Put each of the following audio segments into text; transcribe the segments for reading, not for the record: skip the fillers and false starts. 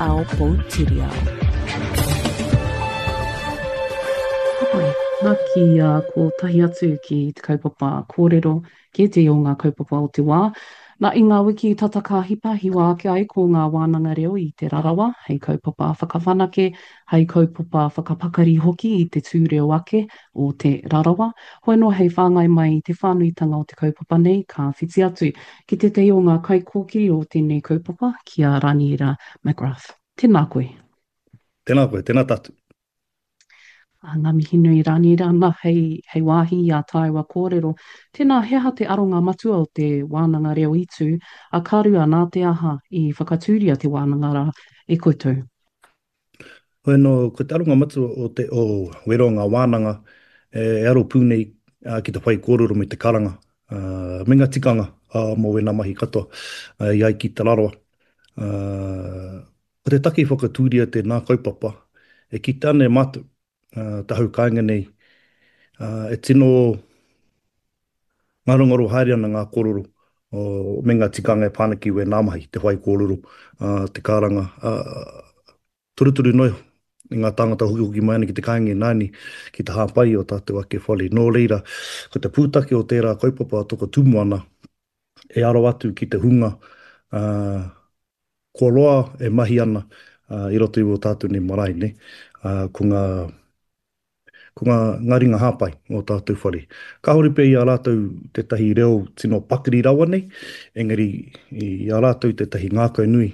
Ao Poutiriao. Ka pai. Nā, kia kotahi atu ki te kaupapa kōrero, ki ētehi o ngā kaupapa o te wā. Nā, i ngā wiki tata ka hipa, hiwa ake ai ko ngā wānanga reo i Te Rarawa hei kaupapa whakawhanake, hei kaupapa whakapakari hoki i te tū reo ake o Te Rarawa. Hoi anō hei whāngai mai i te whānuitanga o te kaupapa nei, ka whiti atu ki tētahi o ngā kaikōkiri o tēnei kaupapa, ki a Raniera McGrath. Tēnā koe. Tēnā koe, tēnā tātou. Ā, ngā mihi nui Raniera, nā, hei, hei wāhi i ā tāua kōrero. Tēnā, he aha te aronga matua o te wānanga reo i tū, a ka rua, nā te aha i whakatūria te wānanga rā e koutou? Hoi anō, ko te aronga matua o te o wero ngā wānanga e aro pū nei ki te whaikōrero me te karanga me ngā tikanga mō wēnā mahi katoa i ai ki Te Rarawa. Ko te take i whakatūria tēnā kaupapa, e kitea ana e mātou te hau kāinga nei e tino Ngarongaro haere ana ngā kōrero me ngā tikanga e pā ana ki wēnā mahi, te whaikōrero, te karanga, torutoru noa iho i ngā tāngata hokihoki mai ana ki te kāinga ināianei ki te hāpai i ō tātou ake whare. Nō reira, ko te pūtake o tērā kaupapa a Toka Tūmoana e aro atu ki te hunga kua roa e mahi ana i roto i ō tātou nei marae, nē, ko ngā Ko ngā, ngā ringa hāpai o tātou whare. Kāore pea i a rātou tētahi reo tino pakari rawa nei, engari i a rātou tētahi ngākau nui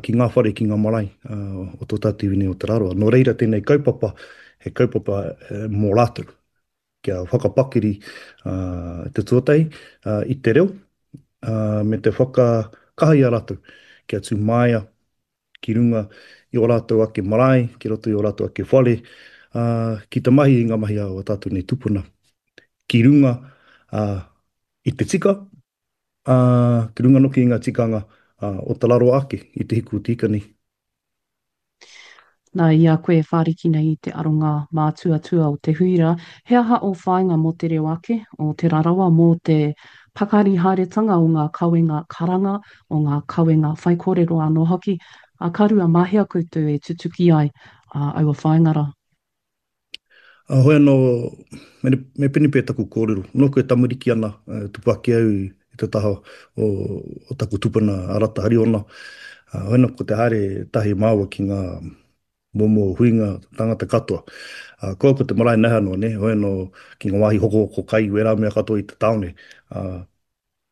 ki ngā whare, ki ngā marae o tō tātou iwi nei o Te Rarawa. Nō reira tēnei kaupapa, he kaupapa mō rātou, kia whakapakari te tuatahi i te reo, me te whakakaha i a rātou kia tū māia ki runga i ō rātou ake marae, ki roto i ō rātou ake whare, ā, ki te mahi i ngā mahi a ō tātou nei tupuna, ki runga ā, i te tika, ā, ki runga noki i ngā tikanga o te raro ake i te hiku o te ika nei. Nā, i a koe e whāriki nei i te aronga mātuatua o te hui rā, he aha ō whāinga mō te reo ake, o Te Rarawa, mō te pakari haeretanga o ngā kawenga karanga, o ngā kawenga whaikōrero anō hoki, ā, ka rua, mā hea koutou e tutuki ai aua whāinga rā? Ā, hoi anō, me, me pēnei pea taku kōrero, nōku e tamariki ana, e tupu ake au i te taha o, o taku tupuna a Rata Hariona, ā, hoi anō ko te haere tahi māua ki ngā momo huinga tangata katoa. Ā, kua ko te marae nahe anō, nē, hoi anō ki ngā wāhi hokohoko kai, wērā mea katoa i te tāone, ā,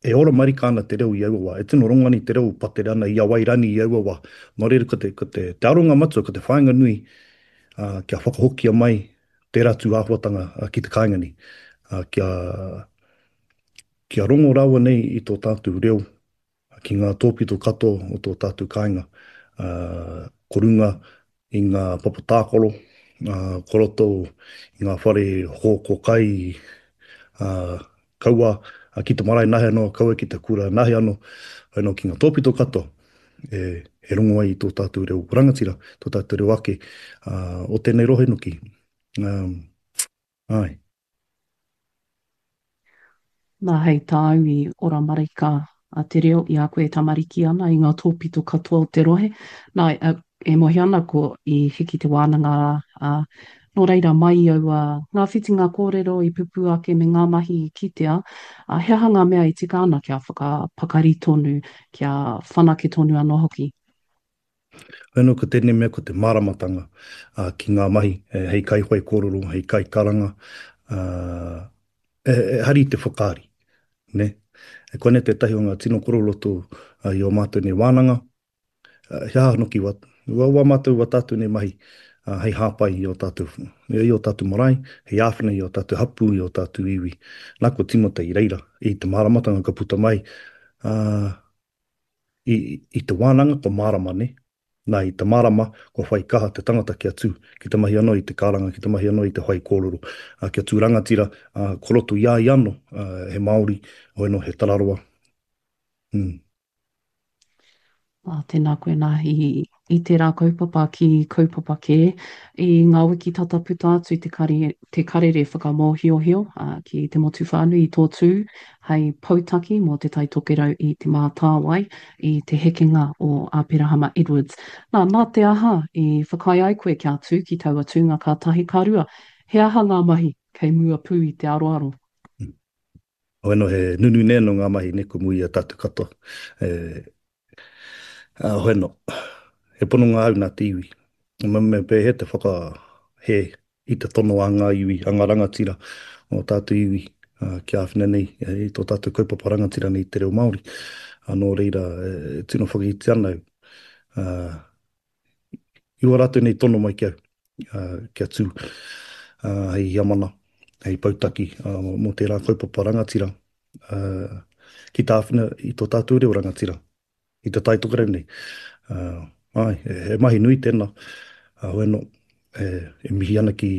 E ora marika ana te reo i aua wā. E tino rongo ana i te reo patere ana i a Wairani i aua wā. Nō reira, ko te, ko te, te aronga matua, ko te whāinga nui, ā, kia whakahokia mai tērā tū āhuatanga ki te kāinga nei, ā, kia, kia rongo rawa nei i tō tātou reo ki ngā tōpito katoa o tō tātou kāinga, ā, ko runga i ngā papa tākaro, ā, ko roto i ngā whare hoko kai, ā, kaua ki te marae nahe anō, kaua ki te kura nahe anō, anō ki ngā tōpito katoa e, e rongo ai i tō tātou reo rangatira, tō tātou reo ake uh, o tēnei rohe noki. Um, ai. Nā, hei tāu i ora marika a te reo i a koe e tamariki ana i ngā tōpito katoa o te rohe. Nā, e mohi ana ko i hiki te wānanga rā, ā, nō reira mai i aua ngā whitinga kōrero i pupū ake me ngā mahi i kitea, ā, he aha ngā mea e tika ana kia whakapakari tonu, kia whanake tonu anō hoki? Anō ko tēnei mea ko te māramatanga ki ngā mahi hei kaiwhaikōrero, hei kaikaranga, e hari te whakaari, nē. Koinei tētahi o ngā tino kororoto i ō mātou nei wānanga, he aha hoki wā, wā mātou, wā tātou nei mahi hei hāpai i ō tātou, i ō tātou marae, hei āwhina i ō tātou hapū, i ō tātou iwi. Nā, kua tīmata i reira, i te māramatanga ka puta mai, ā, I, i te wānanga kua mārama, nē? Nā, i te mārama, kua whai kaha te tangata kia tū, ki te mahi anō i te karanga, ki te mahi anō i te whaikōrero, ā, kia tū rangatira, ā, ko roto i a ia anō, ā, he Māori, hoi anō, he tararoa. Mm. Ā, tēnā koe nā i. i tērā kaupapa ki kaupapa kē. I ngā wiki tata puta atu te kare, te karere whakamōhiohio ki te motu whānui i tō tū hei poutaki mō Te Tai Tokerau i Te Mātāwai i te hekenga o Aperahama Edwards. Nā, nā te aha i whakaae ai koe kia tū ki taua tūnga ka tahi ka rua? He aha ngā mahi kei mua pū i te aroaro? Hoi anō, he nunui nei anō ngā mahi nei ko mua i a tātou katoa. E, ā, hoi anō, he pononga au nā te iwi. Me, me pēhea te whakahē i te tono a ngā iwi, a ngā rangatira o tātou iwi ā, kia āwhina nei i tō tātou kaupapa rangatira nei i te reo Māori. Ā, nō reira, e tino whakaiti ana au, ā, I wā rātou nei tono mai ki au, kia tū hei hiamana, hei poutaki mō tērā kaupapa rangatira, ki te āwhina i tō tātou reo rangatira, i te Tai Tokerau nei. Āe, he mahi nui tēnā, hoi anō, e mihi ana ki,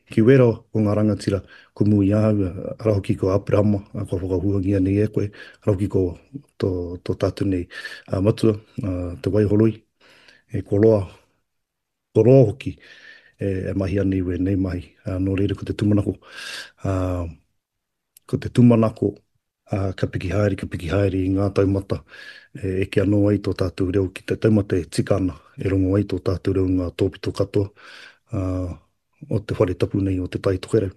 ki wērā o ngā rangatira ko mua i ahau, arā hoki ko Aperahama, kua whakahuangia nei e koe, arā hoki ko tō, tō tātou nei matua, Te Waihoroi, e ko roa, ko roa hoki e mahi ana i wēnei mahi. Nō reira ko te tūmanako, ko te tūmanako ka piki haere, ka piki haere i ngā taumata e eke anō ai tō tātou reo ki te taumata e tika ana, e rongo ai tō tātou reo i ngā tōpito katoa o te whare tapu nei o Te Tai Tokerau.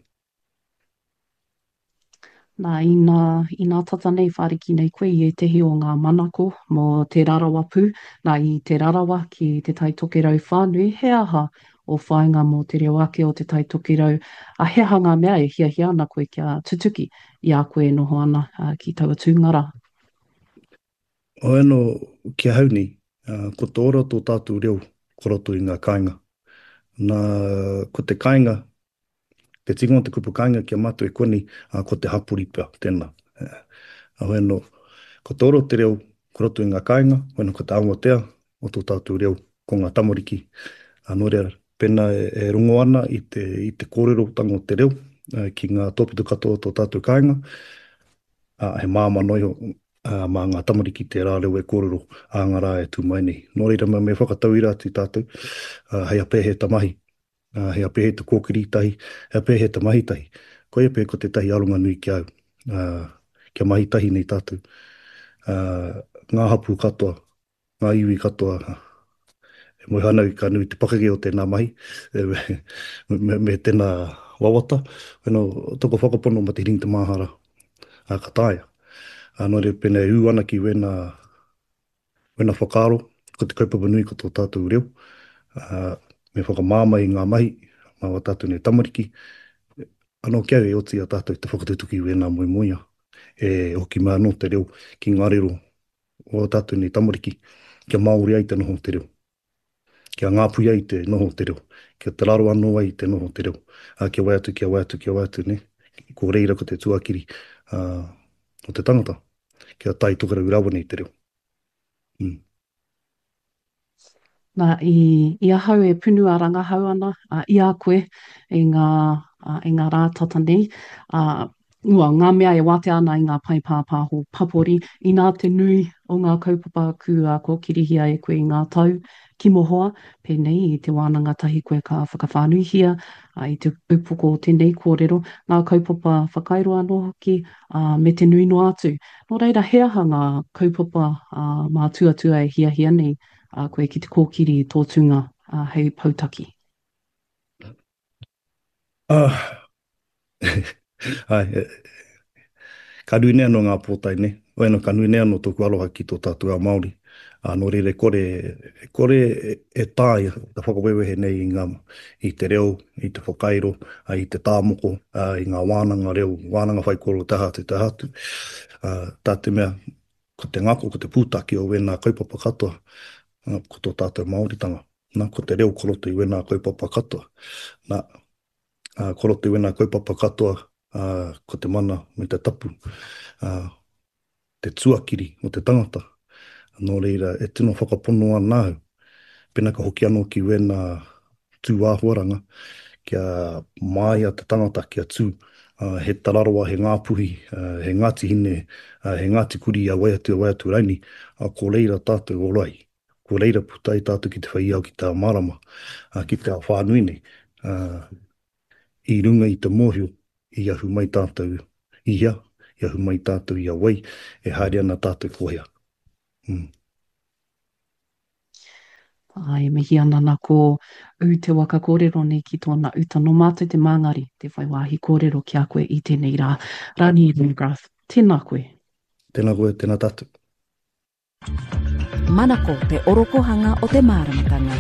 Nā, inā, inā tata nei whāriki nei koe i ētehi o ngā manako mō Te Rarawa pū, nā, i Te Rarawa ki Te Tai Tokerau whānui, he aha ō whāinga mō te reo ake o Te Tai Tokerau, ā, he aha ngā mea e hiahia ana koe kia tutuki i a koe e noho ana ki taua tūnga rā? Hoi anō, ki ahau nei, ko te ora o tō tātou reo ko roto i ngā kāinga. Nā, ko te kāinga Te tikanga o te kupu kāinga ki a mātou e konei, ā, ko te hapori pea, tēnā. Heoi anō, ko te ora o te reo, ko roto i ngā kāinga, hoi anō ko te awatea o tō tātou reo, ko ngā tamariki. Ā, nō reira, pēnā e rongo ana i te, i te kōrerotanga o te reo ki ngā tōpito katoa o tō tātou kāinga, ā, he māmā noa iho ā, mā ngā tamariki tērā reo e kōrero ā ngā rā e tū mai nei. Nō reira, me whakatauira atu tātou, ā, hei a pēhea ta mahi. Ā, he pēhea te kōkiri tahi, he pēhea te mahi tahi. Koia pea ko tētahi aronga nui ki a au, ā, kia mahi tahi nei tātou, ā, ngā hapū katoa, ngā iwi katoa, e moe ana au ka nui te pakeke o tēnā mahi, me, me, me tēnā wawata, wena, toko whakapono ma te hiringi te māhara, ā, ka taea. Ā, nō reira, pēnā e ū ana ki wēnā, Wena whakaaro, ko te kaupapa nui ko tō tātou reo, ā, me whakamāmā i ngā mahi mā wā tātou nei tamariki, anō ki au e oti i a tātou te whakatutuki i wēnā moemoeā, e hoki mai anō te reo ki ngā rero o ā tātou nei tamariki, kia Māori ai te noho o te reo, kia Ngāpuhi ai te noho o te reo, kia Te Raro anō ai te noho o te reo, ā, kia wai atu, kia wai atu, kia wai atu, nē? Ko reira ko te tuakiri, ā, o te tangata, kia tae tokerau rawa nei te reo. Mm. Nā, i, i ahau e punua rangahau ana uh, i a koe i ngā, uh, i ngā rā tata nei, uh, ua, ngā mea e wātea ana i ngā pae pāpāho papori, inā te nui o ngā kaupapa kua kōkirihia e koe i ngā tau ki mohoa, pēnei i te wānanga tahi koe ka whakawhānuihia uh, i te upoko o tēnei kōrero, ngā kaupapa whakairo anō hoki, uh, me te nui noa atu. Nō reira, he aha ngā kaupapa mātuatua e hiahia nei koe ki te kōkiri i tō tūnga hei poutaki? Ah, āe, ka nui nei anō ngā pōtae nei. Hoi anō, ka nui nei anō tōku aroha ki tō tātou ao Māori. Ā, nō reira, e kore, e kore e taea te whakawewehe nei i ngā, i te reo, i te whakairo, ā, i te tā moko, ā, i ngā wānanga reo, wānanga whaikōrero, te aha atu, te aha atu. Ā, tā te mea, ko te ngako, ko te pūtake o wēnā kaupapa katoa, ā, ko tō tātou Māoritanga. Nā, ko te reo ko roto i wēnā kaupapa katoa. Nā, ā, ko roto i wēnā kaupapa katoa, ā, ko te mana me te tapu, ā, te tuakiri o te tangata. Nō reira, e tino whakapono ana au, pēnā ka hoki anō ki wēnā tūāhuaranga, kia māia te tangata kia tū, he Tararawa, he Ngāpuhi, he Ngāti Hine, he Ngāti Kurī, a wai atu, a wai atu raini, ko reira tātou ora ai. Ko reira puta ai tātou ki te whai ao ki te ao mārama, ā, ki te ao whānui nei, ā, i runga i te mōhio i ahu mai tātou i hea, i ahu mai tātou i a wai, e haere ana tātou ko hea. Mm. Ā, e mihi ana nā ko ū te waka kōrero nei ki tōna uta. Nō mātou te māngari, te whai wāhi kōrero ki a koe i tēnei rā. Rani Greengrass, tēnā koe. Tēnā koe, tēnā tātou. Manako te orokohanga o te māramatanga.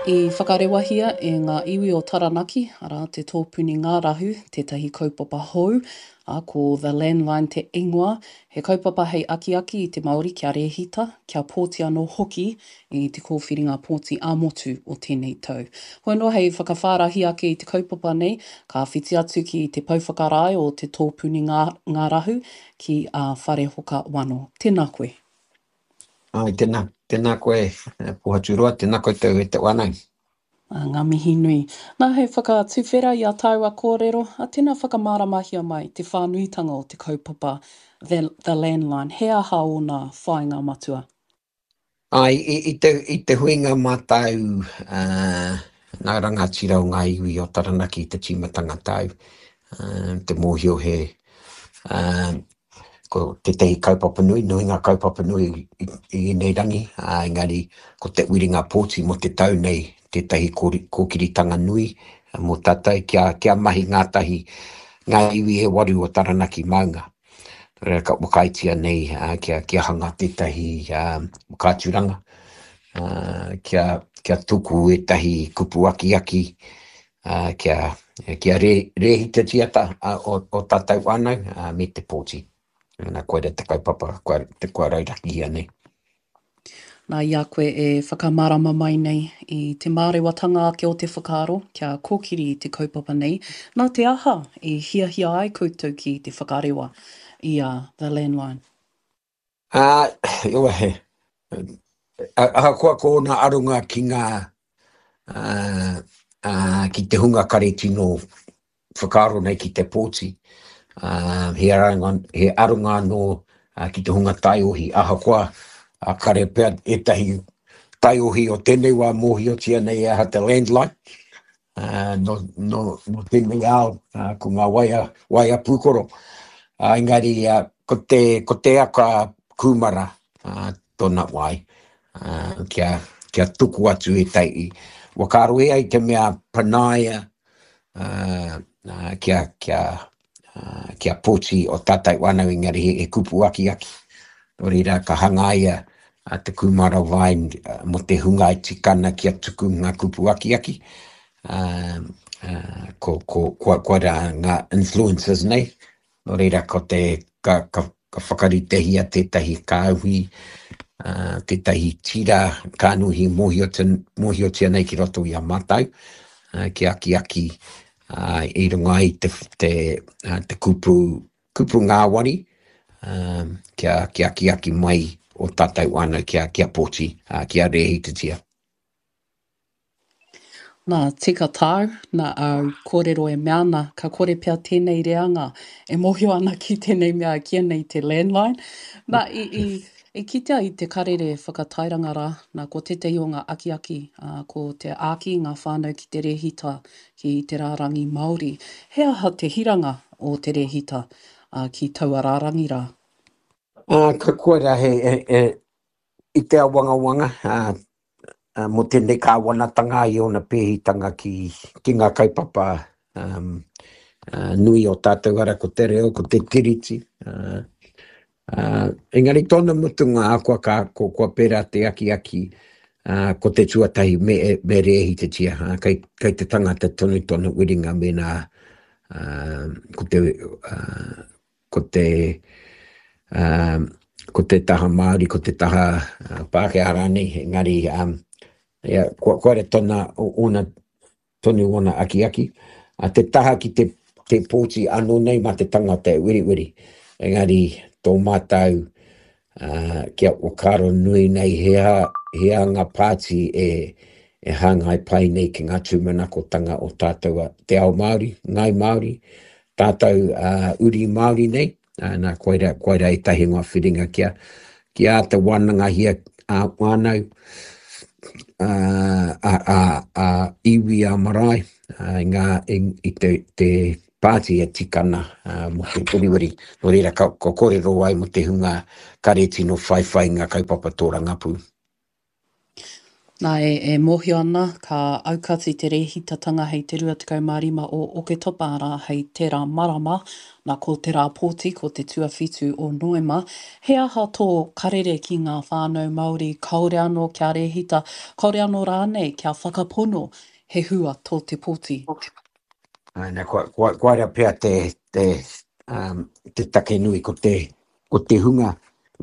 I whakarewahia e ngā iwi o Taranaki, arā, te tōpuni ngārahu, tētahi kaupapa hou, ā, ko The Landline te ingoa, he kaupapa hei akiaki i te Māori kia rēhita, kia pōti anō hoki i te kōwhiringa pōti ā-motu o tēnei tau. Hoi anō hei whakawhārahi ake i te kaupapa nei, ka whiti atu ki te pou whakarae o te tōpuni ngārahu ki a Wharehoka Wano. Tēnā koe. Āe, tēnā, tēnā koe Pohaturoa, tēnā koutou e te whānau. Ā, ngā mihi nui. Nā, hei whakatuwhera i a tāua kōrero, ā, tēnā whakamāramahia mai te whānuitanga o te kaupapa The, The Landline, he aha ōna whāinga matua? Āe, i te, i te huinga mātau ngā rangatira o ngā iwi o Taranaki i te tīmatanga tau, te mōhio he, ko tētahi kaupapa nui, nui ngā kaupapa nui i, i ēnei rangi, ā, engari ko te whiringa pōti mō te tau nei tētahi kōkiritanga nui mō tātou kia, kia mahi ngātahi ngā iwi e waru o Taranaki maunga. Nō reira ka whakaaetia nei kia, kia hanga tētahi whakaaturanga, kia, kia tuku ētahi kupu akiaki, kia, kia rē, rēhitatia ta, o, o tātou whānau me te pōti. Nā, koira te kaupapa kua, te kua raurakihia nei. Nā, i a koe e whakamārama mai nei i te mārewatanga ake o te whakaaro kia kōkiri i te kaupapa nei, nā te aha i hiahia ai koutou ki te whakarewa i a The Landline? Ā, he, ahakoa ko ōna aronga ki ngā, ā, ā, ki te hunga kare tino whakaaro nei ki te pōti, ā, he aronga, he aronga anō ki te hunga taiohi, ahakoa kare pea ētahi taiohi o tēnei wā mōhiotia nei e aha te landline, ā, nō, nō, nō tēnei ao, ā, ko ngā waea, waea pūkoro. Ā, engari, ā, ko te, ko te aka kūmara, ā, tōna wai, ā, kia, kia tuku atu ētahi whakaaro e ai te mea panaia, ā, kia, kia, kia pōti o tātou whānau engari he, he kupu akiaki. Nō reira, ka hangaia te kūmara vine mō te hunga e tika ana kia tuku ngā kupu akiaki. Uh, uh, ko, ko, kua, kua rā ngā influencers nei, Nō reira, ko te, ka, ka, ka whakaritehia tētahi kāhui, uh, tētahi tira kānuhi mōhiotia, mōhiotia nei ki roto i a mātou, uh, ki akiaki uh, i runga i te, te, uh, te kupu, kupu ngāwari, uh, kia, kia akiaki mai o tātou whānau kia, kia pōti, uh, kia rēhitatia. Nā, tika tāu, nā āu kōrero e mea ana, ka kore pea tēnei reanga e mōhio ana ki tēnei mea e kīia nei te landline. Nā, i, i, i kitea i te karere whakatairanga rā, nā, ko tētahi o ngā akiaki, ā, ko te āki i ngā whānau ki te rēhita ki te rārangi Māori. He aha te hiranga o te rēhita, ā, ki taua rārangi rā? Ā, ka koira he, he, he, i te awangawanga, ā, mō tēnei kāwanatanga i ōna pēhitanga ki, ki ngā kaupapa um, uh, nui o tātou ara ko te reo, ko te tiriti. Uh, uh, engari tōna mutunga ahakoa ka, ko, kua pērā te akiaki, uh, ko te tuatahi me, me rēhitatia, uh, kei, kei te tangata tonu tōna wiringa mēnā uh, ko te, uh, ko te, um, ko te taha Māori, ko te taha uh, Pākehā rānei, engari um, ia, kua, kua re tona, ona, tonu ona akiaki. A te taha ki te, te pōti anō nei mā te tangata e weriweri, engari tō mātou uh, kia whakaaro nui nei he aha, he aha ngā pāti e, e hāngai pai nei ki ngā tūmanakotanga o tātou te ao Māori, Ngāi Māori, tātou uri Māori nei, nā, koira, koira ētahi o ngā whiringa kia, Kia āta wānangahia ā-whānau, ā-iwi, ā-marae, i ngā, i te, te pāti e tika ana mō te weriweri. Nō reira, ka, ka kōrero ai mō te hunga kare tino whaiwhai i ngā kaupapa tōrangapū. Nā, e, e mōhio ana, ka aukati te rēhitatanga hei te 25 o Oketopa, arā, hei tērā marama, nā, ko te rā pōti, ko te tuawhitu o Noema. He aha tō karere ki ngā whānau Māori kāore anō kia rēhita, kāore anō rānei kia whakapono he hua tō te pōti? Āe, nā, kua, kua, koira pea te, te, um, te take nui ko te, ko te hunga,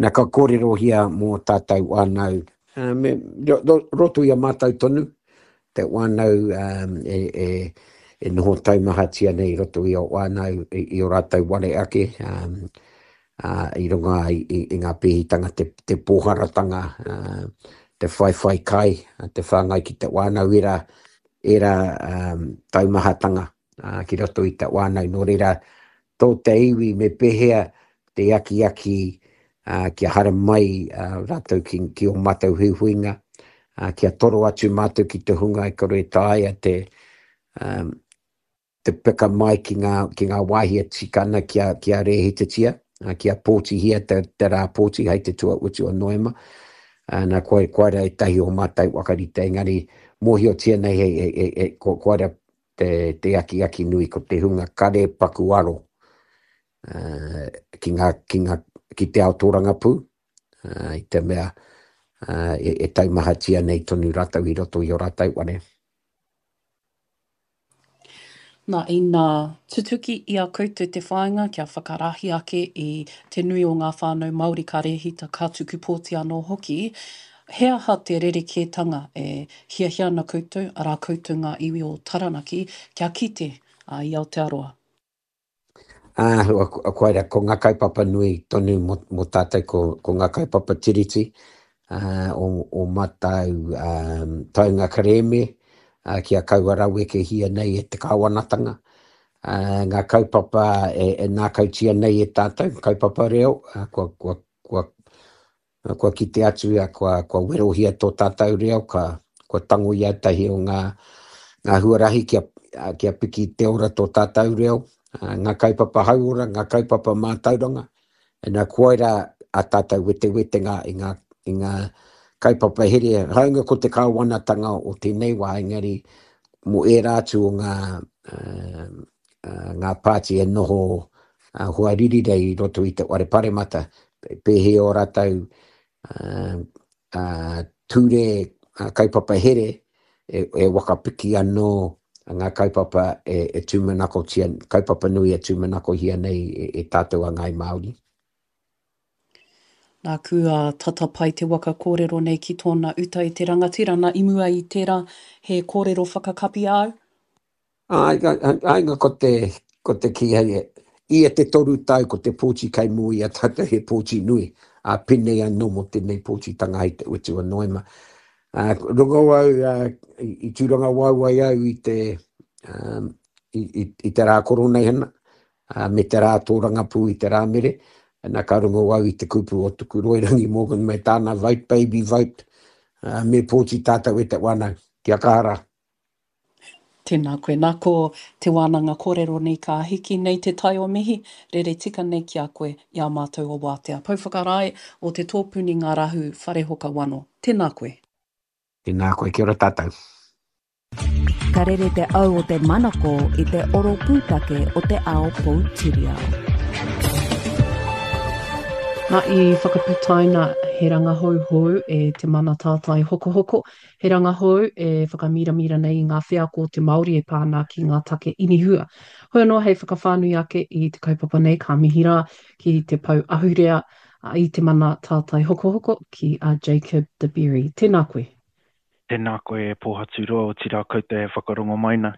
na ka kōrerohia mō tātou whānau, me roto i a mātou tonu, te whānau e, e, e noho taumahatia nei i roto i o whānau, i, i o rātou ware ake, um, uh, i runga i, i, i ngā pēhitanga, te, te pōharatanga, uh, te whaiwhai kai, te whāngai ki te whānau, era, era um, taumahatanga uh, ki roto i te whānau. Nō reira, tō te iwi me pēhea te akiaki kia haramai rātou ki, ki ō mātou huihuinga, kia toro atu mātou ki te hunga e kore e taea te, um, te peka mai ki ngā, ki ngā wāhi e tika ana kia, kia rēhitatia, kia pōtihia te, te rā pōti hei te tuautu o Noema. Nā, koe, koira ētahi o mātou whakarite, engari mōhiotia nei he, he, he, he, ko, koira te, te akiaki nui ko te hunga kare paku aro uh, ki, ngā, ki, ngā, ki te ao tōrangapū, uh, i te mea uh, e, e taumahatia nei tonu rātou i roto i o rātou ware. Nā, ina tutuki i a koutou te whāinga kia whakarahi ake i te nui o ngā whānau Māori ka rēhita, ka tuku pōti anō hoki, He aha te rerekētanga e hiahia ana koutou, arā koutou ngā iwi o Taranaki, kia kite i Aotearoa? Ā, koira, ko ngā kaupapa nui tonu mō, mō tātou, ko, ko ngā kaupapa tiriti, ā, o, o mātou um, taunga kerēme, ā, kia kaua rawekehia nei e te kāwanatanga, ā, ngā kaupapa e, e nākautia nei e tātou, kaupapa reo, ā, kua, kua, kua Kua kite atu ia, kua, kua werohia tō tātou reo, ka, kua tango i ētahi o ngā, ngā huarahi kia, kia piki te ora tō tātou reo, ngā kaupapa hauora, ngā kaupapa mātauranga. Ina koira a tātou wetewetenga i ngā, i ngā kaupapa here, hāunga ko te kāwanatanga o tēnei wā, engari mō ērā atu o ngā, uh, ngā pāti e noho hoariri nei i roto i te whare paremata, pēhi ō rātou ture kaupapa here e, e wakapiki anō ngā kaupapa e, e tūmanakotia, kaupapa nui e tūmanakohia nei e, e tātou a Ngāi Māori. Nāku a tata pai te waka kōrero nei ki tōna uta i te rangatira, nā i mua i tērā he kōrero whakakapi āu? Āe, āe, ko te, ko te kī hei, ia te toru tau ko te pōti kei mua i a tātou he pōti nui, ā, pēnei anō mō tēnei pōtitanga hei te utu o Noema. Ā, rongo au, ā, i, i tūrangawaewae au i te, ā, i, i, i te rā koroneihana, ā, me te rā tōrangapū i te Rāmere, ana ka rongo au i te kupu o Tukuroirangi Morgan me tāna vote baby vote, ā, me pōti tātou e te whānau, kia kaha rā. Tēnā koe. Nā ko te wānanga kōrero nei ka hiki nei te tai o mihi, rere tika nei ki a koe i a mātou o Wātea. Pou whakarae o te tōpuni ngārahu Wharehoka Wano. Tēnā koe. Tēnā koe, kia ora tātou. Ka rere te au o te manako i te oro pūtake o te ao poutiriao. Nā, i whakaputaina he rangahau hou e Te Mana Tātai Hokohoko, He rangahou e whakamīramīra nei i ngā wheako o te Māori e pā ana ki ngā take inihua. Hoi anō hei whakawhānui ake i te kaupapa nei ka mihi rā ki te pou ahurea i te mana tātai hokohoko ki a Jacob De Berry. Tēnā koe. Tēnā koe e Pōhaturoa, otirā koutou e whakarongo mai nei.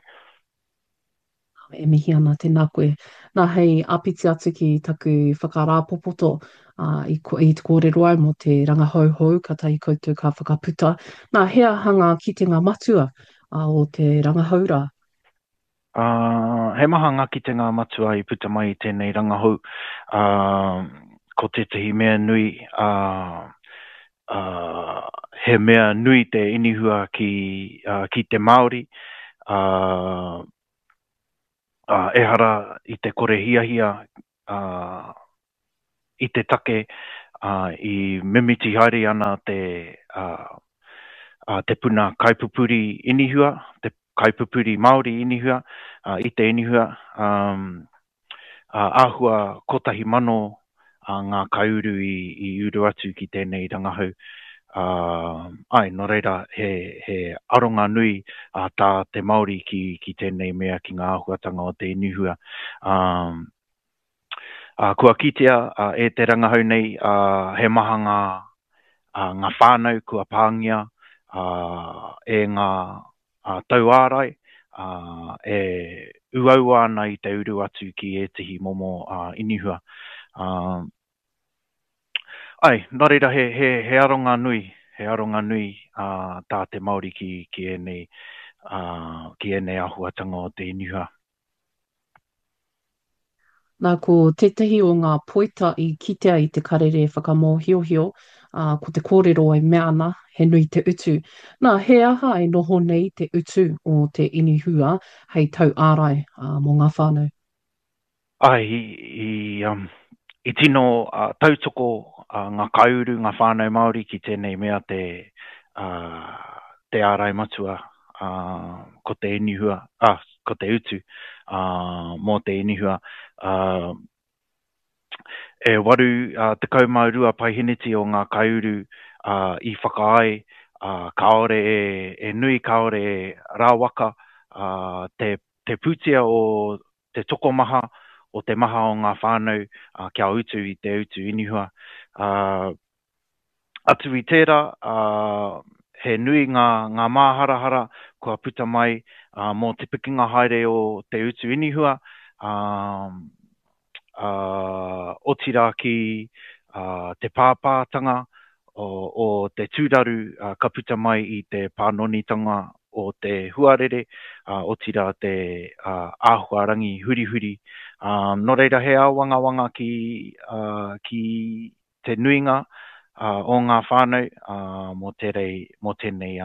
E mihi ana, tēnā koe. Nā, hei āpiti atu ki taku whakarāpopoto, ā, i, i te kōrero au mō te rangahau hou katahi koutou ka whakaputa. Nā, he aha ngā kitenga matua ā, o te rangahau rā? Ā, he maha ngā kitenga matua i puta mai i tēnei rangahau. Ā, Ko tētahi mea nui, he mea nui te inihua ki, ki te Māori, ehara i te kore hiahia i te take i mimiti haere ana te, te puna kaipupuri inihua, te kaipupuri Māori inihua, i te inihua, āhua 1,000 ngā kaiuru i uru atu ki tēnei rangahau. Āe, nō reira, he aronga nui tā te Māori ki tēnei mea, ki ngā āhuatanga o te inihua. Kua kitea e te rangahau nei he maha ngā whānau kua pāngia e ngā tauārai e uaua ana i te uru atu ki ētehi momo inihua. Āe, nō reira he, he, he aronga nui, he aronga nui tā te Māori ki, ki ēnei, ki ēnei āhuatanga o te inihua. Nā, ko tētahi o ngā poita i kitea i te karere whakamōhiohio, ā, ko te kōrero e mea ana, he nui te utu. Nā, he aha e noho nei te utu o te inihua hei tauārai, ā, mō ngā whānau? Āe, i, i, um, i tino uh, tautoko uh, ngā kaiuru, ngā whānau Māori ki tēnei mea te, uh, te ārai matua, uh, ko te inihua, uh, ko te utu mō te inihua. E 82 paeheneti o ngā kaiuru i whakaae kāore e nui, kāore e rawaka te pūtea o te tokomaha, o te maha o ngā whānau kia utu i te utu inihua. Atu i tērā, he nui ngā, ngā māharahara kua puta mai mō te pikinga haere o te utu inihua, otirā ki te pāpātanga o te tūraru ka puta mai i te pānonitanga o te huarere, otirā te āhuarangi hurihuri. Nō reira, he āwangawanga ki, ki te nuinga o ngā whānau mō tērei, mō tēnei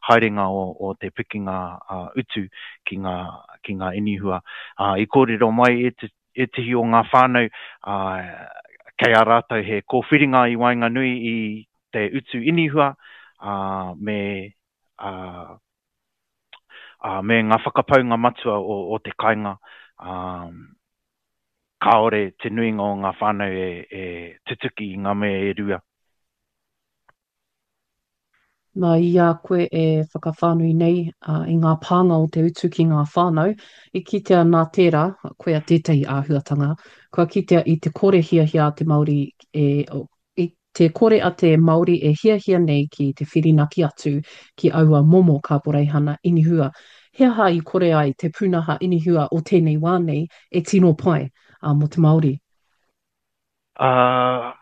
haerenga o te pikinga utu ki ngā, ki ngā inihua. I kōrero mai ētehi o ngā whānau kei a rātou he kōwhiringa i waenganui i te utu inihua me, me ngā whakapaunga matua o te kāinga. Kāore te nuinga o ngā whānau e tutuki i ngā mea e rua. Nā, i a koe e whakawhānui nei i ngā pānga o te utu ki ngā whānau, i kitea nā tērā, koia tētahi āhuatanga, kua kitea i te kore hiahia a te Māori e, I te kore a te Māori e hiahia nei ki te whirinaki atu ki aua momo kaporeihana inihua, he aha i kore ai te pūnaha inihua o tēnei wā nei e tino pai mō te Māori? Ā,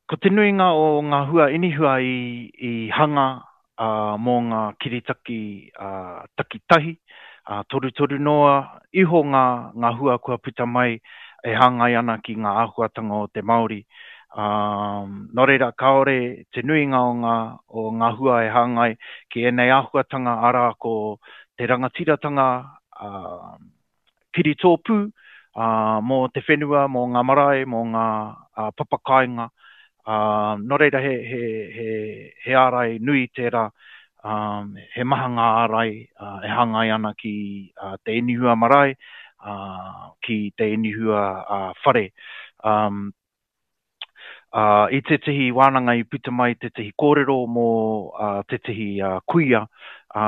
ko te nuinga o ngā hua inihua i hanga mō ngā kiritaki takitahi, torutoru noa iho ngā hua kua puta mai e hāngai ana ki ngā āhuatanga o te Māori. Nō reira, kāore te nuinga o ngā, o ngā hua e hāngai ki ēnei āhuatanga, arā, ko te rangatiratanga, kiritōpū mō te whenua, mō ngā marae, mō ngā papakāinga. Nō reira he, he, he, he ārai nui tērā, he maha ngā ārai e hāngai ana ki te inihua marae, ki te inihua whare. Ā, i tētehi wānanga i puta mai tētehi kōrero mō tētehi kuia, ā,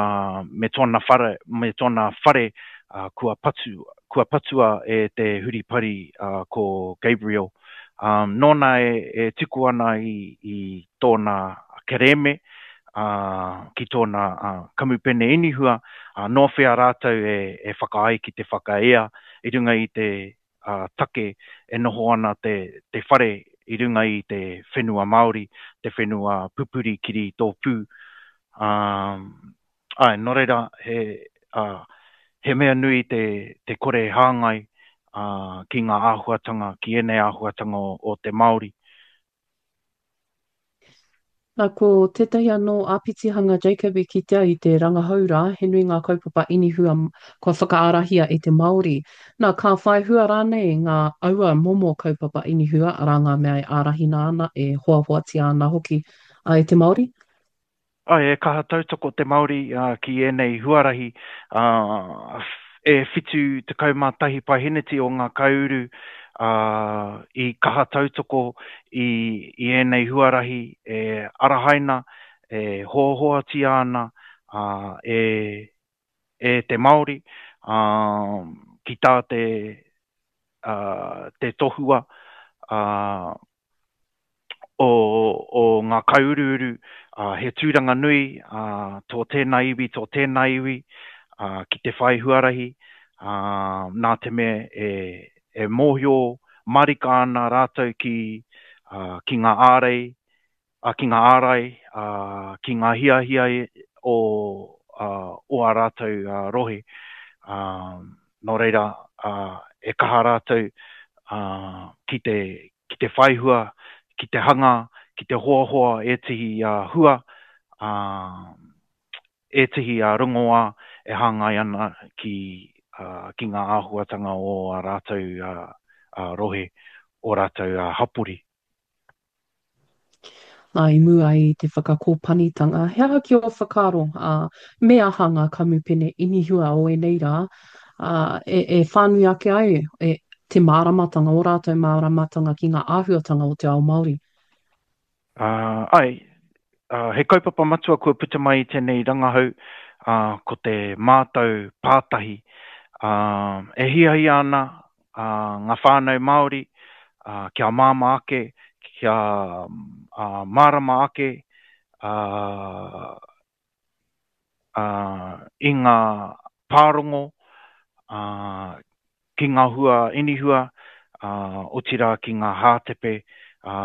me tōna whare, me tōna whare, ā, kua patu, kua patua e te huripari, ā, ko Gabriel. Ā, nōna e, e tuku ana i, i tōna kerēme, ā, ki tōna, ā, kamupene inihua, ā, nō whea rātou e, e whakaae ki te whakaea i runga i te, take e noho ana te te whare i runga i te whenua Māori, te whenua pupuri kiri tōpū. Ā, āe, nō reira, he, ā, he mea nui te, te kore hāngai, ā, ki ngā āhuatanga, ki ēnei āhuatanga o, o te Māori. Nā, ko tētahi anō āpitihanga Jacob i kitea i te rangahau rā, he nui ngā kaupapa inihua kua whakaarahia e te Māori. Nā, ka whai hua rānei ngā aua momo kaupapa inihua, arā ngā mea e ārahina ana, e hoahoatia ana hoki e te Māori? Āe, e kaha tautoko te Māori ki ēnei huarahi, ā, e 71 paeheneti o ngā kaiuru i kaha tautoko i ēnei huarahi e arahaina, e hoahoatia ana e e te Māori, ā, ki tā te, ā, te tohua, ā, o, o ngā kaiuruuru, ā, he tūranga nui, ā, tō tēnā iwi, tō tēnā iwi, ā, ki te whai huarahi, ā, nā te mea e, e mōhio marika ana rātou ki, ā, ki ngā ārei, ā, ki ngā ārai, ā, ki ngā hiahia o, ā, o ā rātou rohe. Ā, nō reira, ā, e kaha rātou, ā, ki te, ki te whaihua, ki te hanga, ki te hoahoa ētehi hua, ā, ētehi rongoā e hāngai ana ki, ā, ki ngā āhuatanga o ā rātou rohe, ō rātou hapori. Nā, i mua i te whakakōpanitanga, he aha ki ō whakaaro, ā, me aha ngā kamupene inihua o ēnei rā, ā, e, e whānui ake ai e, te māramatanga, ō rātou māramatanga ki ngā āhuatanga o te ao Māori? Ā, āe, ā, he kaupapa matua kua puta mai i tēnei rangahau, ā, ko te mātau pātahi. Ā, e hiahia ana ā, ngā whānau Māori, ā, kia māmā ake, kia ā, mārama ake ā, ā, i ngā pārongo, ā, ki ngā hua inihua, ā, otirā ki ngā hātepe ā,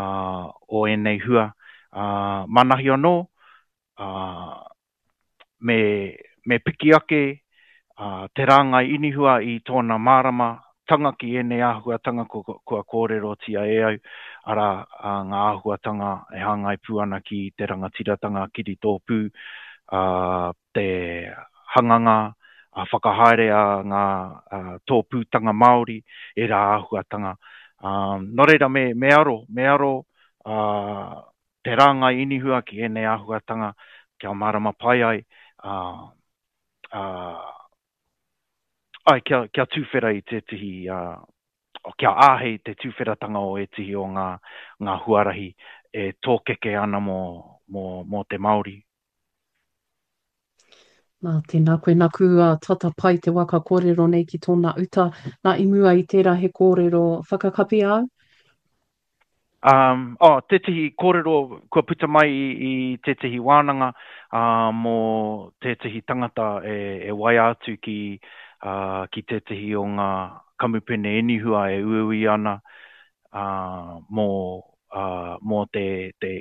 o ēnei hua. Ā, manahi anō, ā, me, me piki ake te rāngai inihua i tōna mārama tanga ki ēnei āhuatanga kua, kua kōrerotia e au, arā, ngā āhuatanga e hāngai pū ana ki te rangatiratanga kiritōpū, ā, te hanganga a whakahaere a ngā tōpūtanga Māori, ērā āhuatanga. Ā, nō reira me, me aro, me aro, ā, te rāngai inihua ki ēnei āhuatanga kia mārama pai ai, ā, ā, ai, kia, kia tūwhera i tētehi, ā, kia āhei te tūwheratanga o ētehi o ngā, ngā huarahi e tōkeke ana mō, mō, mō te Māori. Nā, tēnā koe, naku a tata pai te waka kōrero nei ki tōna uta. Nā, i mua i tērā he kōrero whakakapi āu? Um, oh, tētehi kōrero kua puta mai i, i tētehi wānanga uh, mō tētehi tangata e, e waia atu ki, uh, ki tētehi o ngā kamupene inihua e uiui ana uh, mō, uh, mō te, te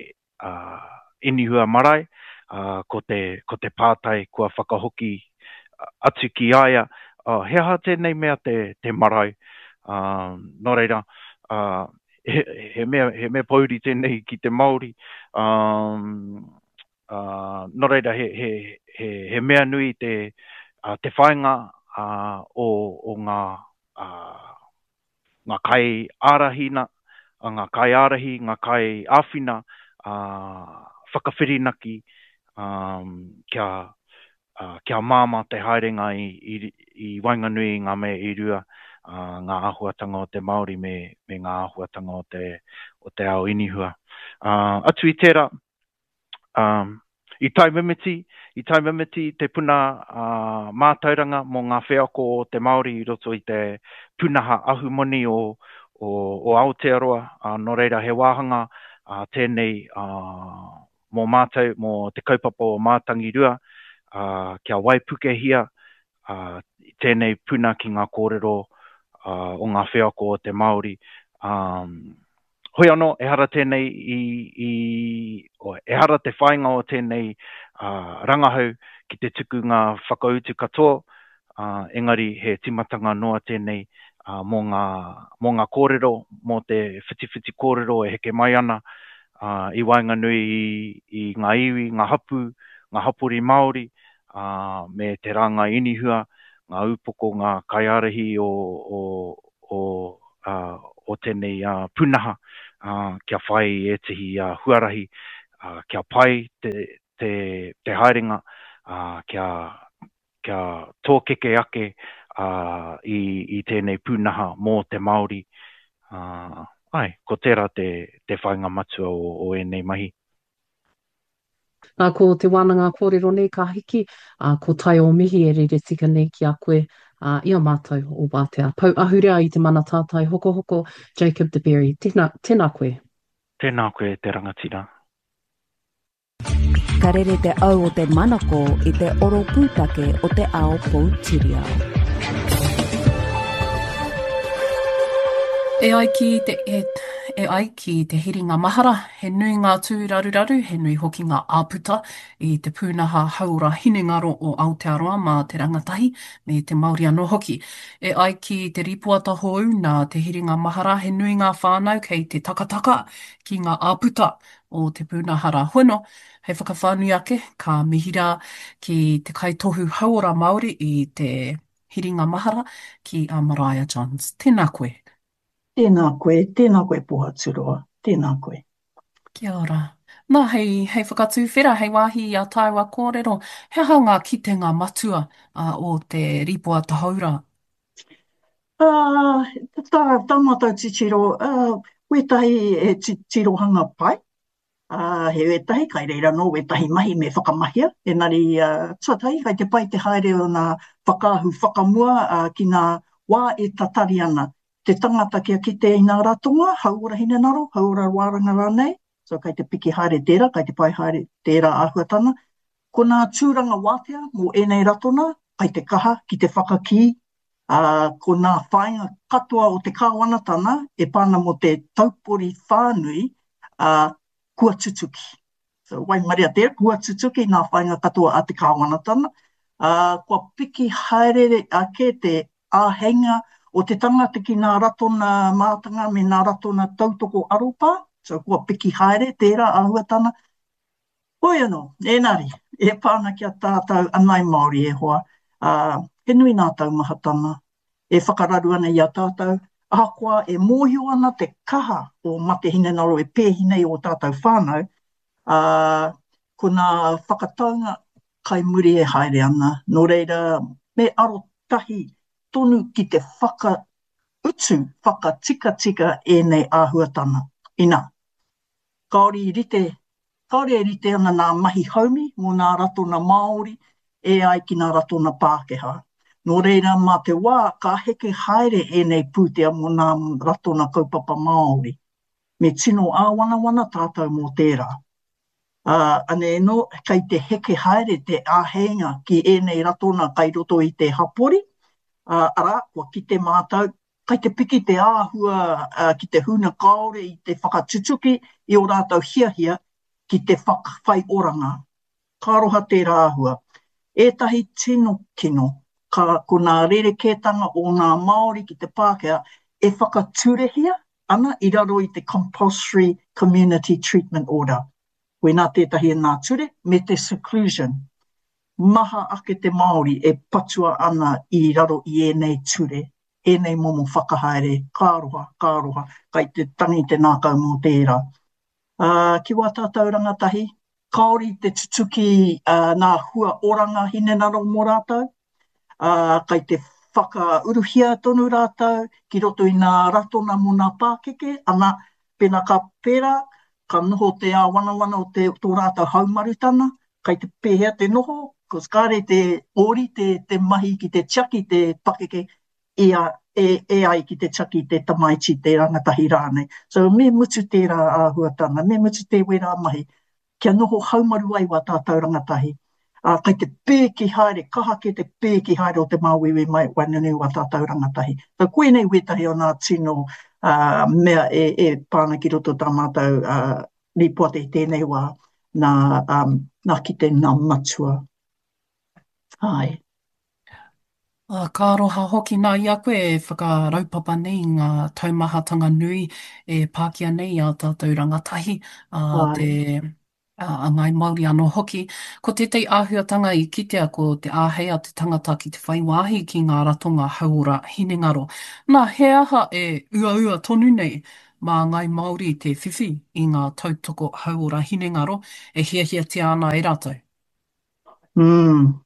inihua marae, ā, ko te, ko te pātai kua whakahoki atu ki a ia, ā, he aha tēnei mea te, te marae? Ā, nō reira, ā, he, he mea, he mea pōuri tēnei ki te Māori, ā, ā, nō reira, he, he, he, he mea nui te, ā, te whāinga, ā, o, o ngā, ā, ngā kaiārahina, ngā kaiārahi, ngā kaiāwhina, ā, whakawhirinaki, ā, kia, ā, kia māmā te haerenga i, i, i waenganui i ngā mea e rua, ā, ngā āhuatanga o te Māori me, me ngā āhuatanga o te, o te ao inihua. Ā, atu i tērā, Um, i taumimiti, i taumimiti te puna uh, mātauranga mō ngā wheako o te Māori i roto i te pūnaha ahumoni o, o, o Aotearoa, uh, nō reira he wāhanga uh, tēnei uh, mō mātou, mō te kaupapa o Mātangirua, uh, kia waipukehia uh, tēnei puna ki ngā kōrero uh, o ngā wheako o te Māori. Um, Hoi anō, ehara tēnei i, i, ehara te whāinga o tēnei uh, rangahau ki te tuku ngā whakautu katoa, uh, engari he timatanga noa tēnei uh, mō ngā, mō ngā kōrero, mō te whitiwhiti kōrero e heke mai ana, i waenganui i ngā iwi, ngā hapū, ngā hapori Māori, me te rāngai inihua, ngā upoko, ngā kaiārahi o, o, o, o tēnei pūnaha, kia whai i ētehi huarahi, kia pai te, te, te haerenga, kia, kia tōkeke ake i, i tēnei pūnaha mō te Māori. Āe, ko tērā te, te whāinga matua o, o ēnei mahi. Nā, ko te wānanga kōrero nei ka hiki, ā, ko tai o mihi e rere tika nei ki a koe, ā, i a mātou o Wātea. Pou ahurea i te mana tātai hokohoko, Jacob de Berry. Tēnā, tēnā koe. Tēnā koe e te rangatira. Ka rere te au o te manako i te oro pūtake o te ao poutiriao. E ai ki te, e, e ai ki te hiringa mahara, he nui ngā tūraruraru, he nui hoki ngā āputa i te pūnaha hauora hinengaro o Aotearoa mā te rangatahi me te Māori anō hoki. E ai ki te rīpoata hou nā te hiringa mahara, he nui ngā whānau kei te takataka ki ngā āputa o te pūnaha rā hono. Hei whakawhānui ake, ka mihi rā ki te kaitohu hauora Māori i te hiringa mahara ki a Maraea Johns. Tēnā koe. Tēnā koe, tēnā koe Pohaturoa, tēnā koe. Kia ora. Nā, hei, hei whakatūwhera, hei wāhi i a tāua kōrero, he aha ngā kitenga matua o te rīpoata hou rā? Ā, tā, tā mātou titiro, ā, wētahi he tirohanga pai, ā, he wētahi, kai reira anō wētahi mahi me whakamahia, engari, ā, tuatahi, kai te pai te haere o nā whakaahu whakamua, ā, ki nā wā e tatari ana te tangata kia kite i nā ratonga, hauora hinengaro, hauora wāranga rānei, so kai te piki haere tērā, kai te pai haere tērā āhuatanga. Ko nā tūranga wātea mō ēnei ratona, kai te kaha ki te whakakī ā, ko nā whāinga katoa o te kāwanatana e pā ana mō te taupori whānui, ā, kua tutuki. So, waimaria tērā, kua tutuki nā whāinga katoa a te kāwanatana, ā, kua piki haere ake te āheinga o te tangata ki nā ratona mātanga me nā ratona tautoko aropā, so kua piki haere tērā āhuatana, Hoi anō, ēnari, e pā ana ki a tātou anai Māori e hoa, ā, he nui nā taumahatanga e whakararu ana i a tātou, ahakoa e mōhio ana te kaha o mate hinengaro e pēhi nei ō tātou whānau, ā, ko nā whakataunga kai muri e haere ana, nō reira, me arotahi tonu ki te whakautu, whakatikatika ēnei āhuatanga, inā. Kāore i rite, kāore e rite ana nā mahi haumi mō nā ratona Māori e ai ki nā ratona Pākehā. Nō reira, mā te wā ka heke haere ēnei pūtea mō nā ratona kaupapa Māori. Me tino āwanawana tātou mō tērā. Ā, anei anō, kei te heke haere te āheinga ki ēnei ratona kai roto i te hapori, ā, arā, kua kite mātou, Kai te piki te āhua ki te huna kāore i te whakatutuki i ō rātou hiahia ki te whai oranga. Ka aroha tērā āhua. Ētahi tino kino, ka ko nā rerekētanga o ngā Māori ki te Pākehā e whakaturehia ana i raro i te Compulsory Community Treatment Order. Koinā tētahi o nā ture, me te seclusion. Maha ake te Māori e patua ana i raro i ēnei ture, ēnei momo whakahaere, ka aroha, ka aroha, kai te tangi te nākau mō tērā. Ā, ki wā tātou rangatahi, kāore i te tutuki nā hua oranga hinengaro mō rātou, ā, kai te whakauruhia tonu rātou ki roto i nā ratona mō nā pākeke, ana, pēnā ka pērā, ka noho te āwanawana o te, tō rātou haumarutana, kai te pēhea te noho, cos kāre te ōrite te mahi ki te tiaki te pakeke i a, e, e ai ki te tiaki te tamaiti, te rangatahi rānei. So me mutu tērā āhuatanga, me mutu te wērā mahi, kia noho haumaru ai wā tātou rangatahi. Ā, kai te pēki haere, kaha kē te pēki haere o te māuiui mai waenganui wā tātou rangatahi. So koinei wētahi o nā tino ā, mea e, e pā ana ki roto tā mātou ā, rīpoata i tēnei wā, nā, um, nā kite nā matua. Āe. Ā, ka aroha hoki nā i a koe e whakaraupapa nei i ngā taumahatanga nui e pākia nei i ā tātou rangatahi, ā, te, ā, a Ngāi Māori anō hoki. Ko tētahi āhuatanga i kitea ko te āhei a te tangata ki te whai wāhi ki ngā ratonga hauora hinengaro. Nā, he aha e uaua tonu nei mā Ngāi Māori te whiwhi i ngā tautoko hauora hinengaro e hiahiatia ana e rātou? Mm.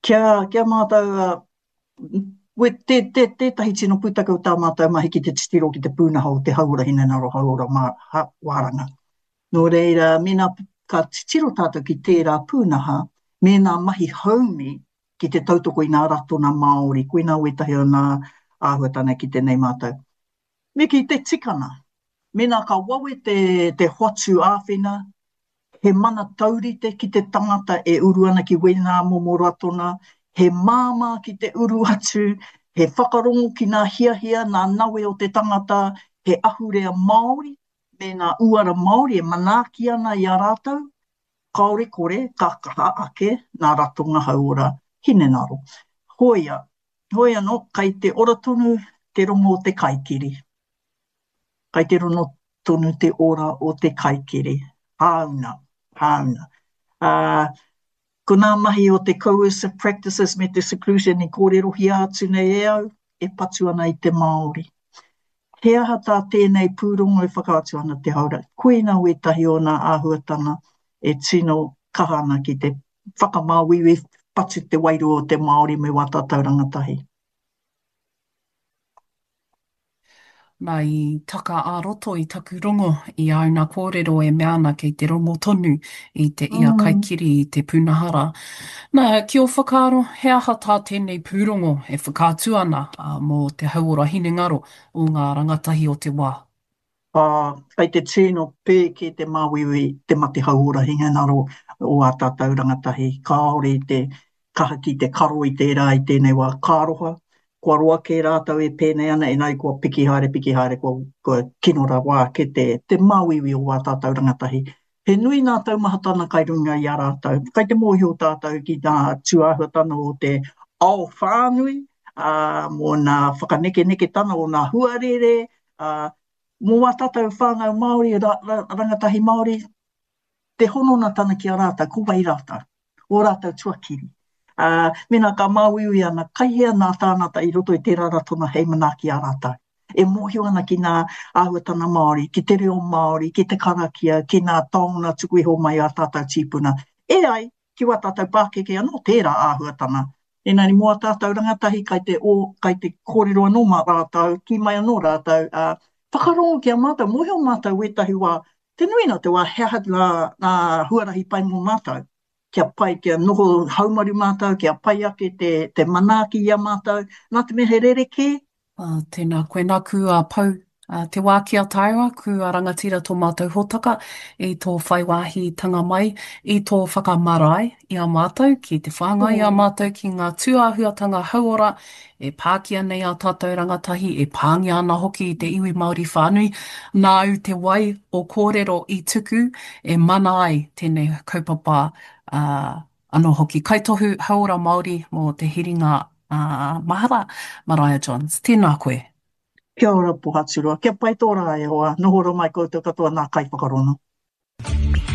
Kia, kia mātau, uh, we, te, te, tētahi tino pūtake o tā mātau mahi ki te titiro ki te pūnaha o te hauora hinengaro, hauora mā, ha, wāranga. Nō reira, mēnā ka titiro tātou ki tērā pūnaha, mēnā mahi haumi ki te tautoko i ngā ratona Māori, koinā wētahi o ngā āhuatanga ki tēnei mātau. Me kī te tikanga, mēnā ka wawe te, te hoatu āwhina, he mana taurite ki te tangata e uru ana ki wēnā momo ratona, he māmā ki te uru atu, he whakarongo ki ngā hiahia, ngā nawe o te tangata, he ahurea Māori me ngā uara Māori e manaaki ana i a rātou, kāore kore ka kaha ake ngā ratonga hauora hinengaro. Hoia, hoi anō, kai te ora tonu te rongo o te kaikiri. Kai te rono tonu te ora o te kaikiri. Hāuna, hāuna. Ā, ko nā mahi o te coercive practices me te seclusion i kōrerohia atu nei e au, e patu ana i te Māori. He aha tā tēnei pūrongo e whakaatu ana te haora? Koina wētahi o nā āhuatanga e tino kaha ana ki te whakamāuiui, patu te wairua o te Māori me wā tātou rangatahi. Nā, i taka ā-roto i taku rongo i āu nā kōrero e mea ana kei te rongo tonu i te ia kaikiri i te pūnaha rā. Nā, ki ō whakaaro, he aha tā tēnei pūrongo e whakaatu ana mō te hauora hinengaro o ngā rangatahi o te wā? Ā, kei te tino pēke te māuiui, te mate hauora hinengaro o ā tātou rangatahi. Kāore i te kaha ki te karo i tērā i tēnei wā. Ka aroha, kua roa kē rātou e pēnei ana, engari kua piki haere, piki haere, kua, kua kino rawa ake te, te māuiui o ā tātou rangatahi. He nui ngā taumahatana kai runga i a rātou. Kai te mōhio tātou ki ngā tūāhuatana o te ao whānui, ā, mō ngā whakanekeneketana o ngā huarere, ā, mō ā tātou whānau Māori, ra, ra, rangatahi Māori, te hononatana ki a rātou, ko wai rātou, ō rātou tuakiri. Ā, mēnā ka māuiui ana, kai hea nā tāngata i roto i tērā ratonga hei manaaki i a rātou? E mōhio ana ki ngā āhuatanga Māori, ki te reo Māori, ki te karakia, ki ngā taonga tuku iho mai a tātou tīpuna. E ai ki wā tātou pākeke anō tērā āhuatanga. Engari mō ā tātou rangatahi kai te o, kai te kōrero anō mā rātou, kī mai anō rātou, ā, whakarongo ki a mātou, mōhio mātou wētahi wā, te nuinga o te wā he aha ngā, ngā huarahi pai mō mātou, kia pai, kia noho haumaru mātou, kia pai ake te, te manaaki i a mātou, nā te mea he rerekē, Ā, tēnā koe. Nāku a Pou, ā, te wā ki a tāua, kua rangatira tō mātou hōtaka i tō whai wāhitanga mai, i tō whakamarae i a mātou ki te whāngai i a mātou ki ngā tūāhuatanga hauora e pākia nei ā tātou rangatahi, e pāngia ana hoki i te iwi Māori whānui. Nāu te wai o kōrero i tuku e mana ai tēnei kaupapa, ā, Anō hoki, Kaitohu Hauora Māori mō Te Hiringa Mahara, Maraea Johns. Tēnā koe. Kia ora Pohaturoa, kia pai tō rā e hoa, noho ora mai koutou katoa nā kaiwhakarongo.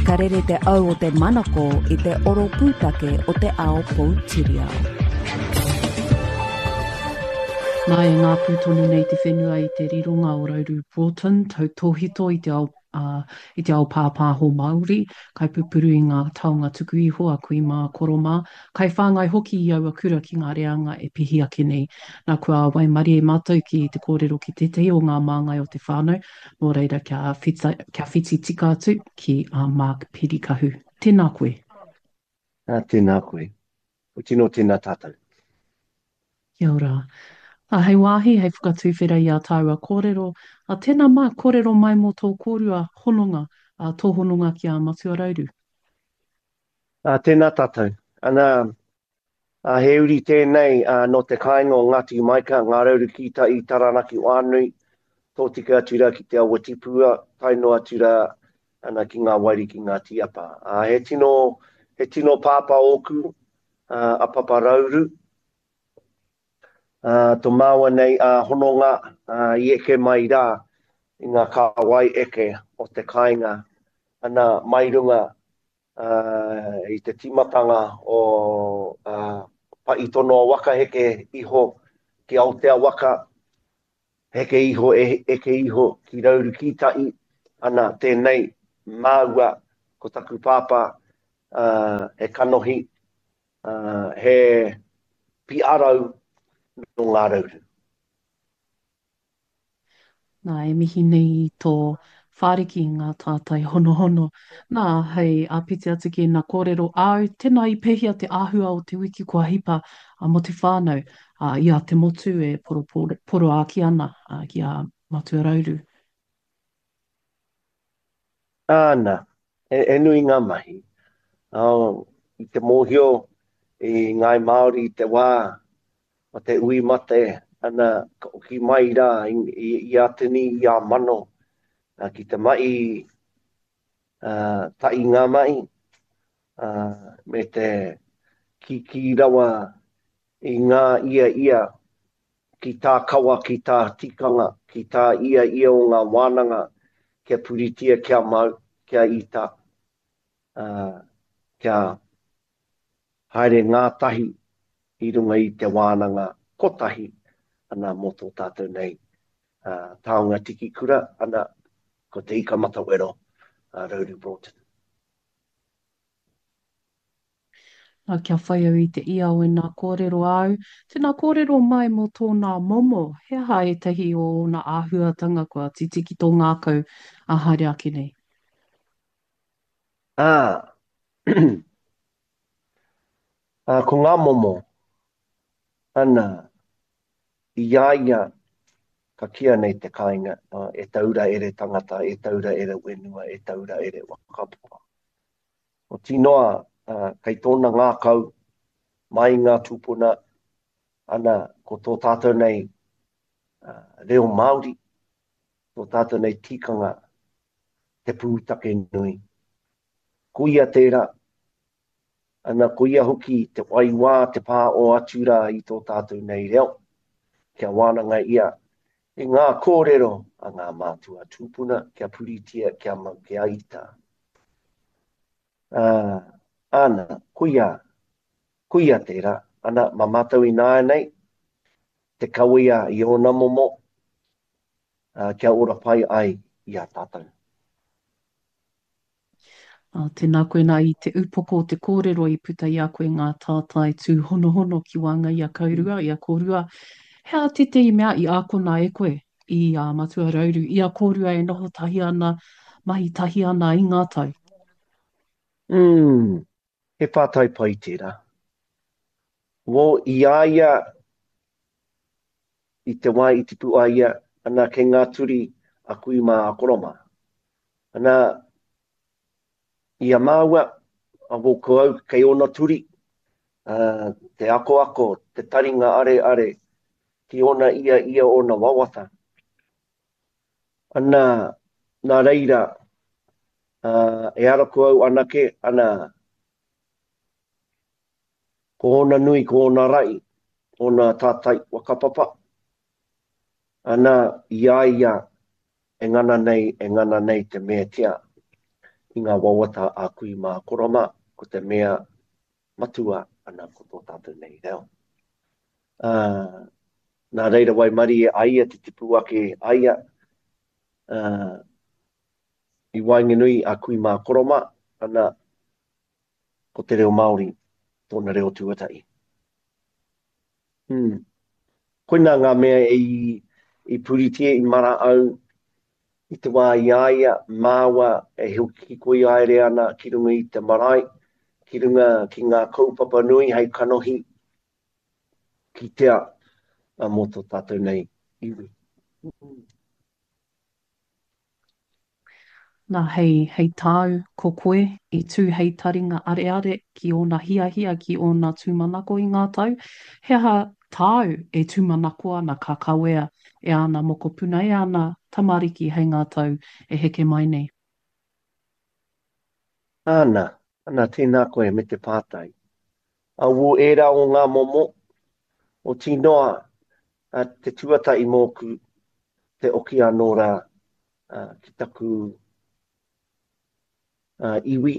Ka rere te au o te manako i te oro pūtake o te ao poutiriao. Nā, e ngāpū tonu nei te whenua i te rironga o Rauru Broughton, tautōhito i te ao ā, i te ao pāpāho Māori, kaipupuru i ngā taonga tuku iho a kui mā, koro mā, kaiwhāngai hoki i aua kura ki ngā reanga e pihi ake nei. Nā, kua waimarie mātou ki te kōrero ki tētahi o ngā māngai o te whānau, nō reira kia whita, kia whiti tika atu ki a Mark Pirikahu. Tēnā koe. Ā, tēnā koe. Ko tino tēnā tātou. Kia ora. Ā, hei wāhi, hei whakatuwhera i ā tāua kōrero, ā, tēnā mā, kōrero mai mō tō kōrua hononga, ā, tō hononga ki a Matua Rauru. Ā, tēnā tātou. Ana, ā, he uri tēnei, ā, nō te kāinga o Ngāti Maika, Ngā Rauru ki tai i Taranaki whānui, tōtika atu rā ki Te Awa Tipua, tae noa atu rā, ana ki ngā wairiki ngā tīapa. Ā, he tino, he tino pāpā ōku, ā, a Papa Rauru. Tō māua nei hononga i eke mai rā i ngā kāwai eke o te kāinga, ana, mai runga i te tīmatanga o Paʻi-tonoa waka heke iho ki Aotea waka, heke iho, eke iho ki Rauru Kītaʻi, ana, tēnei māua ko taku pāpā he kanohi he piarau nō Ngā Rauru. Nā, e mihi nei i tō whāriki i ngā tātai honohono. Nā, hei āpiti atu ki ēnā kōrero āu, tēnā i pēhea te āhua o te wiki kua hipa mō te whānau, ā, i a te motu e poroāki ana ki a Matua Rauru? Āna, he nui ngā mahi. I te mōhio i Ngāi Māori i te wā o te ui mate, ana, ka oki mai rā i a tini, i a mano, ki te mahi tahi ngā mahi, me te kīkī rawa i ngā ia ia ki tā kawa, ki tā tikanga, ki tā ia ia o ngā wānanga, kia puritia, kia mau, kia ita, ā, kia haere ngātahi i runga i te wānanga kotahi, ana, mō tō tātou nei taonga tiki kura, ana, ko Te Ika Matawero, a Rauru Broughton. Nā, kia whai au i te ia o ēnā kōrero āu, tēnā kōrero mai mō tōnā momo, he aha ētahi o ōna āhuatanga kua titi ki tō ngākau ā haere ake nei? Ā, ā, ko ngā momo, ana, i a ia ka kīa nei te kāinga, e taura ere tangata, e taura ere whenua, e taura ere whakapapa. Oti noa, kei tōna ngākau, mai i ngā tūpuna, ana, ko tō tātou nei reo Māori, tō tātou nei tikanga, te pūtake nui. Ko ia tērā, ana, ko ia hoki te waiwā, te pā o atu rā i tō tātou nei reo, kia wānanga ia i ngā kōrero a ngā mātua tūpuna kia puritia, kia mau, kia ita. Ā, āna, koia, koia tērā, ana, mā mātou ināianei, te kawea i ōna momo, ā, kia ora pai ai i a tātou. Ā, tēnā koe nā i te upoko o te kōrero i puta i a koe ngā tātai tūhonohono ki waenga i a kaurua, i a kōrua. He aha tētehi mea i ākona e koe i a Matua Rauru, i a kōrua e noho tahi ana, mahi tahi ana i ngā tau? Mm, he pātai pai tērā. Wō, i a ia, i te wā i tipu ai ia, ana kei ngā turi a kui mā a koro mā. Ana, i a māua, a wō ko au kei ōna turi, ā, te akoako, te taringa areare, ki ōna ia ia ōna wawata. Ana, nā reira, ā, e ara ko au anake, ana, Ko ōna nui, ko ōna raʻi, ōna tātai whakapapa, ana, i a ia e ngana nei, e ngana nei te mētia i ngā wawata a kui mā koro mā, ko te mea matua ana ko tō tātou nei reo. Ā, nā reira waimarie a ia te tipu ake a ia, ā, i waenganui a kui mā koro mā, ana, ko te reo Māori tōna reo tuatahi. Hmm. Koinā ngā mea i, i puritia, i mara au i te wā i a ia, māua e hikoi haere ana ki runga i te marae, ki runga ki ngā kaupapa nui hei kanohi kitea mō tō tātou nei iwi. Hmm. Nā, hei, hei tāu, ko koe, i tū hei taringa areare ki ōna hiahia, ki ōna tūmanako i ngā tau, he aha tāu e tūmanako ana ka kawea e āna mokopuna, e āna tamariki hei ngā tau e heke mai nei? Āna, ana, tēnā koe me te pātai. Aū ērā o ngā momo, oti noa. Te tuatahi mōku, te oki anō rā ki taku iwi,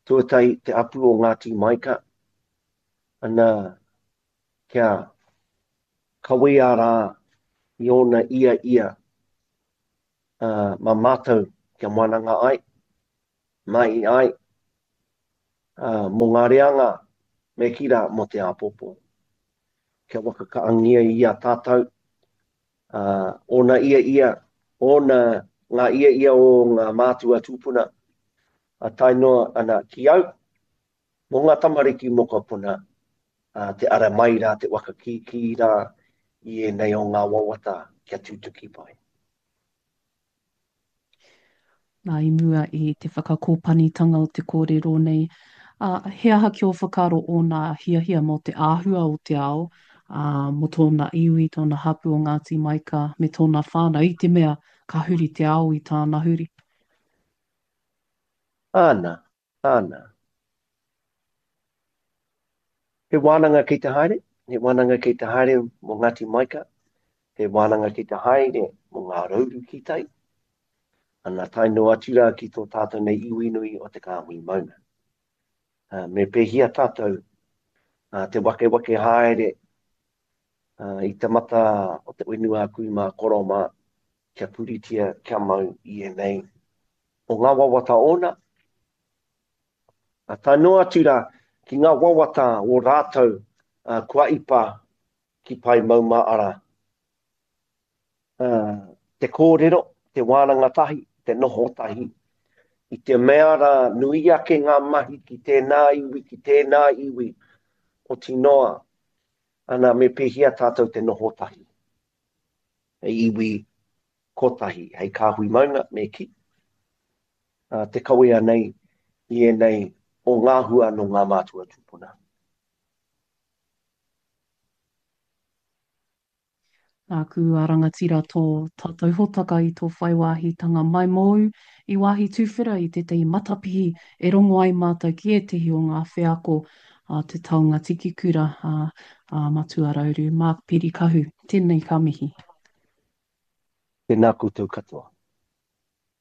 tuatahi te apu o Ngāti Maika, ana kia kawea rā i ōna ia ia mā mātou kia wananga ai, mahi ai, mō ngā reanga me kī rā mō te āpōpō. Kia wakakaangia i a tātou, ōna ia ia, ōna, ngā ia ia o ngā mātua tūpuna, a tae noa ana ki au, mō ngā tamariki mokopuna, te ara mai rā, te waka kīkī rā i ēnei o ngā wawata kia tutuki pai. Nā, i mua i te whakakōpanitanga o te kōrero nei, ā, he aha ki ō whakaaro ōna hiahia mō te āhua o te ao, ā, mō tōna iwi, tōna hapū o Ngāti Maika me tōna whānau, i te mea ka huri te ao i tāna huri? Āna, āna. He wānanga kei te haere, he wānanga kei te haere mō Ngāti Maika, he wānanga kei te haere mō Ngā Rauru ki tai, ana tae noa atu rā ki tō tātou nei iwi nui o Te Kāhui Maunga. Me pēhia tātou te wakewake haere i te mata o te whenua a kui mā koro mā, kia puritia, kia mau i ēnei o ngā wawata ōna, Ā, tae noa atu rā ki ngā wawata o rātou kua ipa ki Pae Maumāara. Ā, te kōrero, te wānanga tahi, te noho tahi, i te mea rā nui ake ngā mahi ki tēnā iwi, ki tēnā iwi, oti noa, ana me pēhea tātou te noho tahi, hei iwi kotahi, hei kāhui maunga, me kī. te kawea nei i ēnei o ngā hua nō ngā mātua tūpuna. Nāku a rangatira tō tātou hōtaka i tō whai wāhitanga mai mōu i wāhi tuwhera i tētahi matapihi e rongo ai mātou ki ētahi o ngā wheako a te taonga tiki kura a, a Matua Rauru, Mark Pirikahu. Tēnei ka mihi. Tēnā koutou katoa.